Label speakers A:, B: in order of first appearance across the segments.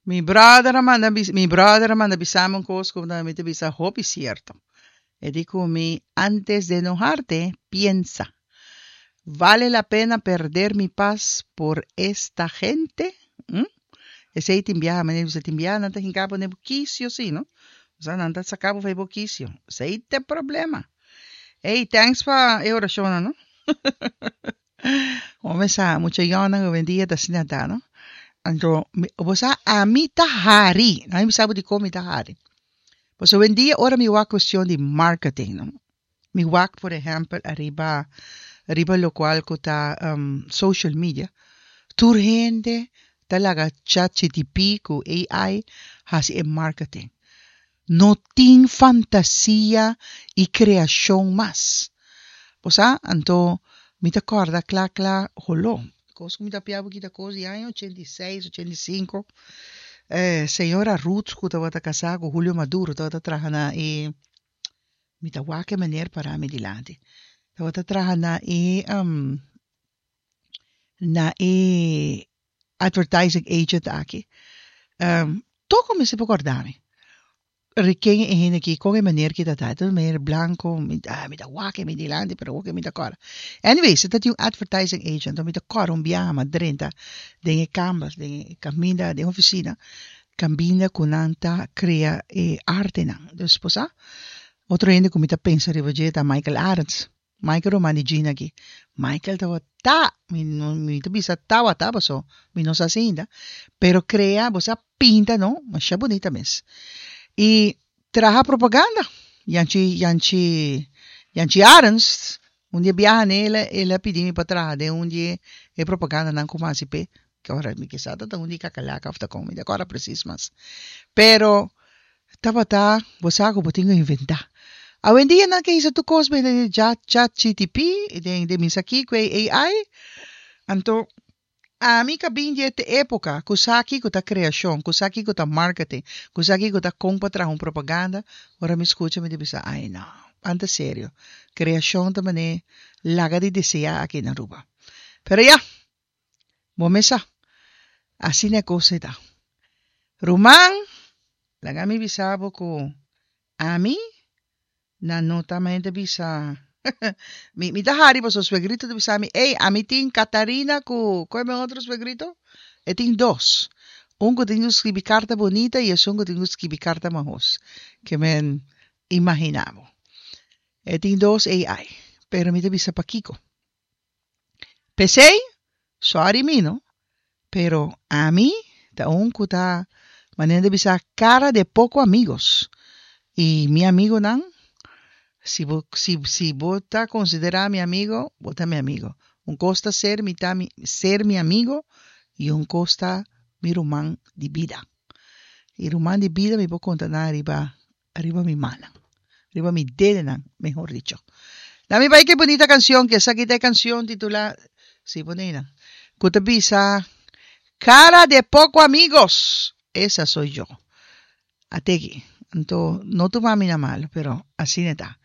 A: Mi brother a manda bis, mi brother a manda bisami un kos ku mi ta bisa hopi sierto. E di ku mi, antes de enojarte, piensa. Vale la pena perder mi paz por esta gente? Hm? Esei tin biaha, manera bisa tin biaha nan ta hinka bo den bo kisio si, no? Osea nan ta saka bo for bo kisio. Esei ta e problema. Ey, thanks pa e orashonnan, no? Bo mesa mucha yònnan howendia ta asina ta, no? Anto, bo sa ami ta hari. Nan mi bisa bo dikon mi ta hari. Pasobra howendia ora mi wak kuestion di marketing, no? Mi wak por ehèmpel ariba riba lokual ku ta social media, tur hende ta laga ChatGTP ku AI hasi e marketing. No tin fantasia i kreashon mas. Bo sa? Anto mi ta kòrda kla kla holó. Kos ku mi ta pia bo kita kos di aña 86, 85. Eh, señora Ruth ku tabata kasá ku Julio Maduro tabata traha na e mi ta wak e meneer pará mi dilanti. Tabata traha na e na e advertising agent aki. Toko mi si por korda mi. Ri ken e hende aki, kon e meneer ki ta ta. E ta un meneer blanko, mi ta mi ta wak e mi dilanti pero awor ke mi ta kòrda. Anyways, e ta tin un advertising agent, mi ta kòrda un biaha mi a drenta den e kamber, den e kaminda, den e ofisina, kaminda ku nan ta krea e artenan. Dus bo sa, otro hende ku mi ta pensa riba dje ta Michael Arends. Michael ruman di Gina aki. Michael tabata, mi no mi ta bisa tabata paso mi no sa si ainda, pero krea, bo sa pinta no, masha bunita mes. I traha propaganda. Yanchi Yanchi Yanchi Arends, un di e biaha ne el a el a pidi mi pa traha den un di e propagandanan ku mi a hasi p'e, ke ora mi kisa ta ta un di kakalaka òf ta kon, mi ta kòrda presis mas. Pero Tabata bo sa ku bo tin ku inventá. Awendia nan ke hisa tur kos bende den chat chatgtp den den misa kiko e AI. Anto ami ka bin di e epoka ku sa kiko ta kreashon, ku sa kiko ta marketing, ku sa kiko ta kon pa traha un propaganda, ora mi skucha mi ta bisa ai no, anta serio. Kreashon ta manera laga di deseá aki na Aruba. Pero ya, Bo mes sa. Asina e kos ei ta. Ruman, laga mi bisa bo ku ami nan no ta mente bisa mi mi ta hari pasobra suegrito ta bisa mi, ey, ami tin Catarina ku ku e mi otro suegrito? E tin dos. Un ku tin ku skibi karta bunita i esun ku tin ku skibi karta mahos. Ke men imagina bo. E tin dos AI. Pero mi ta bisa pakiko. P'esei, sòri mi no, pero ami ta un ku ta manera di bisa cara de poco amigos i mi amigonan si bo si si bo ta konsiderá mi amigo bo ta mi amigo. Un kos ta ser mi ta mi ser mi amigo i un kos ta mi ruman di bida. I ruman di bida mi por konta nan riba Riba mi mannan. Riba mi dedenan, mehor dicho. Na mi bai ke bunita canción, ke esaki ta e canción titula, si pone einan, ku ta bisa, Cara de poco amigos, esa soy yo. Ateki, anto no tuma mi na malo, pero asina e ta.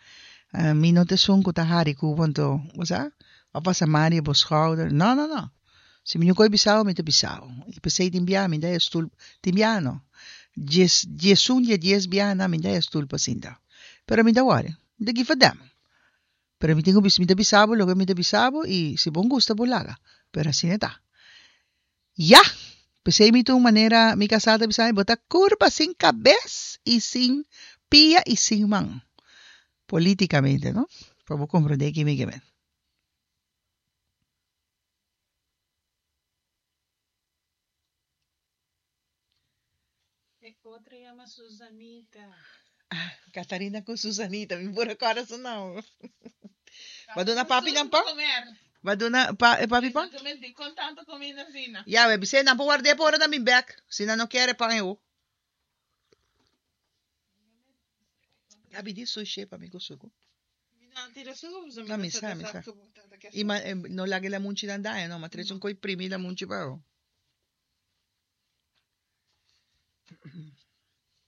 A: Mi no ta esun ku ta hari ku bo, anto, bo sa, a pasa man riba bo schouder. No, no, no. Si mi no koe bisao, mi ta bisao. I p'esei tin biaha mi ta haya stul, tin biaha no, dies, diesun di e dies biahanan mi ta haya stul pa sinta. Pero mi ta wòri, mi ta give a damn. Pero mi tin ku bisa, mi ta bisa bo loke mi ta bisa bo i si bo gusta bo laga, pero asina e ta. Ya! P'esei mi ta un manera, mi kasá ta bisa mi, bo ta kurpa sin kabes i sin pia i sin man. Politikamente, no? Pa bo komprondé ki mi ke men.
B: E otro yama Susanita.
A: Ah, Catarina cu Susanita, mi por recorda su nomber. Ba duna papi nan pan? Ba duna pa, eh, papi pan?
B: Con tanto comida asina.
A: Ya, we bisé nan por ward'é pa ora nan bin bek. Si nan no kier e pan e ho. Gabi di sushi pa mi cu suku.
B: Mi no a tira suku pasobra
A: No,
B: mi
A: mi
B: no
A: sa,
B: sa
A: mi
B: ta
A: sa.
B: sa ku bo tata ke
A: I ma,
B: suku.
A: eh, no laga e lamunchi nan daña, no, ma trese un koi primi lamunchi pa bo.